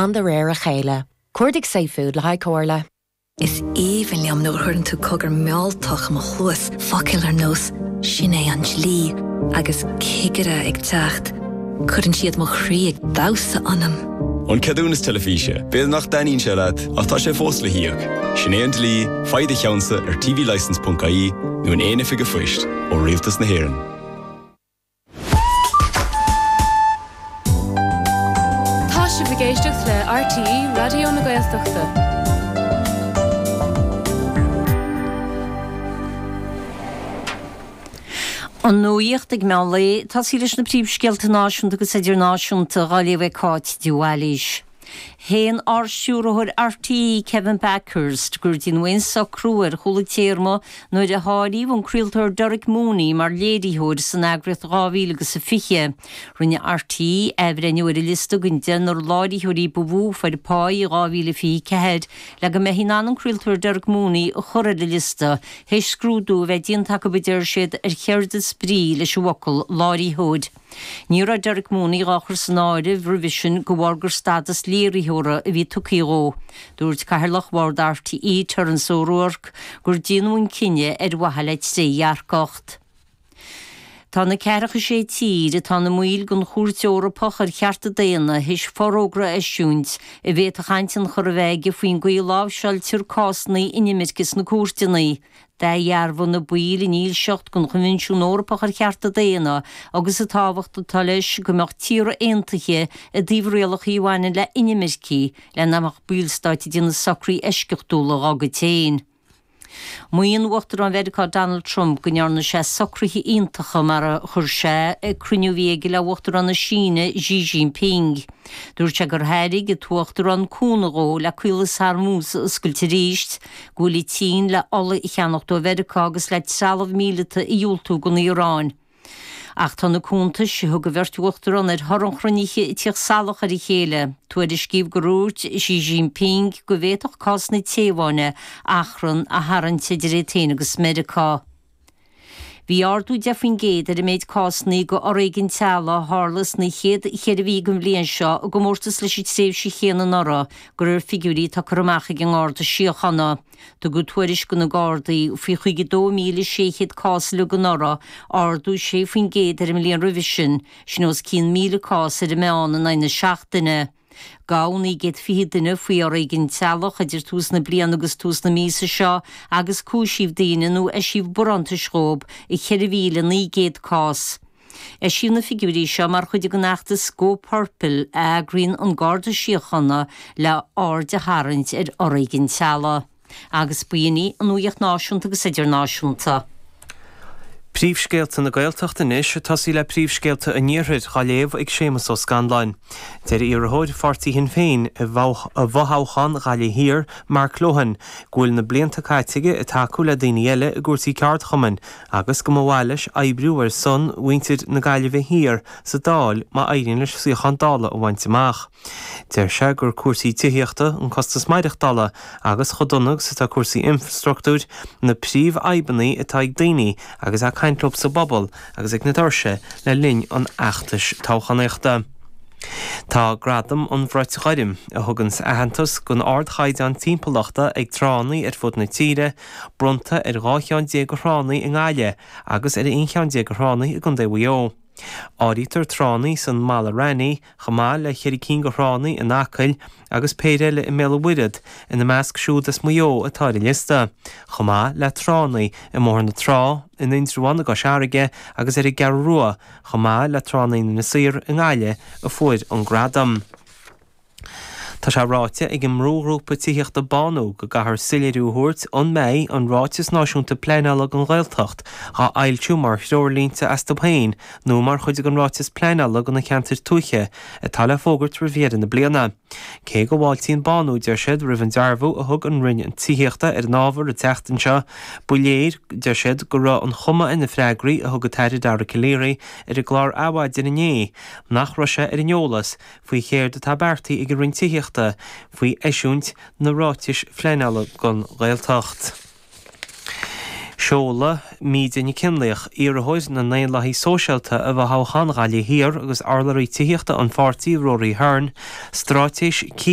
gan de réir a chéile. Cuardaigh safefood le haghaidh comhairle. Is aoibhinn liom nuair a chuireann tú cogar mealltach i mo chluas, focail ar nós 'sin é an dlí' agus 'cigire ag teacht'. Cuireann siad mo chroí ag damhsa ionam. An ceadúnas teilifíse, b'fhéidir nach dtaitníonn sé leat, ach tá sé fós le híoc. Sin é an dlí, faigh do cheannsa ar tvlicence.ie nó in aon oifig an phoist ó Rialtas na hÉireann. Tá sibh ag éisteacht le RTÉ Raidió na Gaeltachta. An nuacht ag meán lae, tosaí leis na príomhscéalta náisiúnta agus idirnáisiúnta dhá léamh ag Cáit de Bhailís. Shéan Ard-Stiúrthóir RTÉ Kevin Bakhurst gur déanadh aon socrú ar chúla téarma nuair a háiríodh an craoltóir Derek Mooney mar léiritheoir san eagraíocht 2000 agus a 20. Rinne RTÉ athbhreithniú ar a liosta den deichniúr láiritheoirí ba mhó a fuair pá i 2024 le go mbeifí in ann an craoltóir Derek Mooney a chur ar an liosta, théis scrúdú a bheith déanta acu a deir siad ar chéard is brí leis an bhfocal láiritheoir. Ní raibh Derek Mooney dhá chur san áireamh roimhe sin de bharr gur stadas léiritheora a bhí tugtha dhó. Dúirt Cathaoirleach Bhord RTÉ, Terence O'Rourke, gur déanadh an cinneadh ar mhaithe le trédhearcacht. Tá na ceathracha sé tír atá ina mbaill den Chúirt Eorpach ar Chearta Daonna théis forógra a eisiúint a bhféadfadh an-tionchar a bheith aige faoin gcaoi a láimhseáiltear cásanna inimirce sna cúirteanna. D'athdhearbhaigh na baill a ndílseacht don Choinbhinsiún Eorpach ar Chearta Daonna agus an tábhacht atá leis go mbeadh tíortha aontaithe i dtaobh rialacha a bhaineann le inimircigh le nach mbeadh ballstáit ag déanamh socruithe eisceachtúla dhá gcuid féin. Maíonn Uachtarán Mheiriceá Donald Trump go ndearna sé socruithe iontacha mar a chuir sé ag cruinniú a bhí aige le Uachtarán na Síne Xi Jinping. Dúirt sé gur thairg an tUachtarán cúnamh dhó le Caolas Hormuz a oscailt arís, go bhfuil an tSín le ola a cheannacht ó Mheiriceá agus le trealamh míleata a dhiúltú don Iaráin. Ach tá na cuntais a thug an bheirt uachtarán ar thoradh an chruinnithe ag tíocht salach ar a chéile. Tuairiscíodh gur dhúirt Xi Jinping go bhféadfadh cás na Téaváine achrann a tharraingt idir iad féin agus Meiriceá. Bhí ardú 10% ar an méid cásanna de fhoréigean teaghlaigh a tharla sna chéad cheithre mhí den bhliain seo i gcomórtas leis an tréimhse chéanna anuraidh, de réir figiúirí atá curtha amach ag an nGarda Síochána. Tugadh tuairisc do na Gardaí faoi 52,600 cás uilig anuraidh, ardú 6% ar an mbliain roimhe sin, sin os cionn 1,000 cás ar an meán in aghaidh na seachtaine. Gabhadh 920 duine faoi fhoréigean teaghlach idir tús na bliana agus tús na míosa seo agus cúisíodh daoine nó eisíodh barántais dhóibh i 4,900 cás. Eisíodh na figiúirí seo mar chuid den fheachtas Go Purple a eagraíonn an Garda Síochána le aird a tharraingt ar fhoréigean teaghlaigh. Agus b'in í an nuacht náisiúnta agus idirnáisiúnta. Príomhscéalta na Gaeltachta anois, ag tosaí le príomhscéalta an Iarthair, dhá léamh ag Séamus Ó Scanláin. Deir iarrthóir pháirtí Shinn Féin i bhfothoghchán Ghaillimh Thiar, Mark Lohan, go bhfuil na blianta caite aige ag tacú le daoine eile i gcúrsaí ceardchumainn agus go mba mhaith leis oibriú ar son mhuintir na Gaillimhe Thiar sa Dáil má éiríonn leis suíochán Dála a bhaint amach. Deir sé gur cúrsaí tithíochta, an costas maireachtála agus chomh dona agus atá cúrsaí infreastruchtúir na príomhfhadhbanna atá ag daoine agus é ag caint leo sa bpobal agus ag na doirse le linn an fheachtais toghchánaíochta. Tá Gradam an Bhrait Ghoirm, a thuganns aitheantas don ardchaighdeán timpeallachta ag tránna ar fud na tíre, bronnta ar 12 cheann de thránna i nGaillimh agus ar aon cheann de thránna i gContae Mhaigh Eo. Áirítear tránna san Mala Raithní, chomh maith le cheithre cinn de thránna in Acaill agus péire eile i mBéal an Mhuirthead, ina measc siúd as Maigh Eo atá ar an liosta, chomh maith le tránna i mBóthar na Trá, in Indreabhán i gCois Fharraige agus ar an gCeathrú Rua, chomh maith le tránna in Inis Oírr i nGaillimh a fuair an gradam. Tá sé ráite ag an mbrúghrúpa tithíochta Bánú go gcaithfear soiléiriú a thabhairt an mbeidh an Ráiteas Náisiúnta Pleanála don Ghaeltacht á fhoilsiú mar threoirlínte astu féin nó mar chuid den Ráiteas Pleanála do na Ceantair Tuaithe atá le fógairt roimh dheireadh na bliana. Cé go bhfáiltíonn Bánú, deir siad, roimh an dearbhú a thug an Roinn Tithíochta ar an ábhar an tseachtain seo, ba léir, deir siad, go raibh an chuma ar na freagraí a thug an tAire Dara Calleary ar an gclár Adhmhaidin inné nach raibh sé ar an eolas faoi chéard atá beartaithe ag an Roinn Tithíochta faoi eisiúint na ráitis phleanála don Ghaeltacht. Seolfaidh Míde Nic Fhionnlaoich, iarrthóir na nDaonlathaithe Sóisialta i bhfothoghchán Ghaillimh Thiar agus urlabhraí tithíochta an pháirtí Rory Hearne, straitéis.